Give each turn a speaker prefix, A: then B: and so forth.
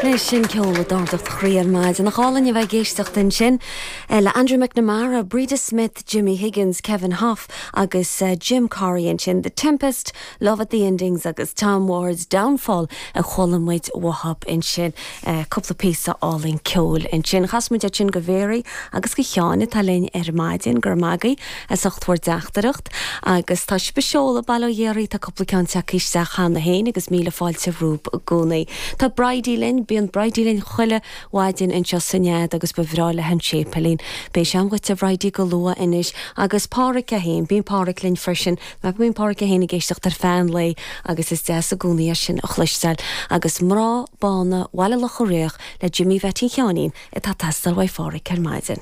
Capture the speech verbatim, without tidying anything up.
A: Leis sin ceol a d'ardódh do chroí ar maidin nach álainn a bheith ag éisteacht ansin le Andrew McNamara, Breda Smith, Jimmy Higgins, Kevin Hoff agus uh, Jim Corry ansin The Tempest, Love at the Endings agus Tom Ward's Downfall a chuala muid uathub ansin uh, cúpla píosa álainn ceoil ansin. Chas muid sin go Mary agus go Sheáin atá linn ar maidin gur magaí as ucht bhur dteachtaireacht agus tá speisióla bail ó Dhia oraibh tá cúpla ceann isteach cheana féin agus míle fáilte romhaibh i gcónaí. Tá Bridie linn bíonn Bridie linn chuile mhaidin anseo san Nead agus ba bhreá léi an séipéilín. Beidh sé agat a Bhridie go luath anois agus Pádraig é féin, bíonn Pádraig linn freisin, mar bíonn Pádraig é féin ag éisteacht ar feadh an lae agus is deas i gcónaí é sin a chloisteáil agus mná bána Bhaile Locha Riach le Jimmy Bhetty Sheáinín atá ag teastáil ó Phádraig ar maidin.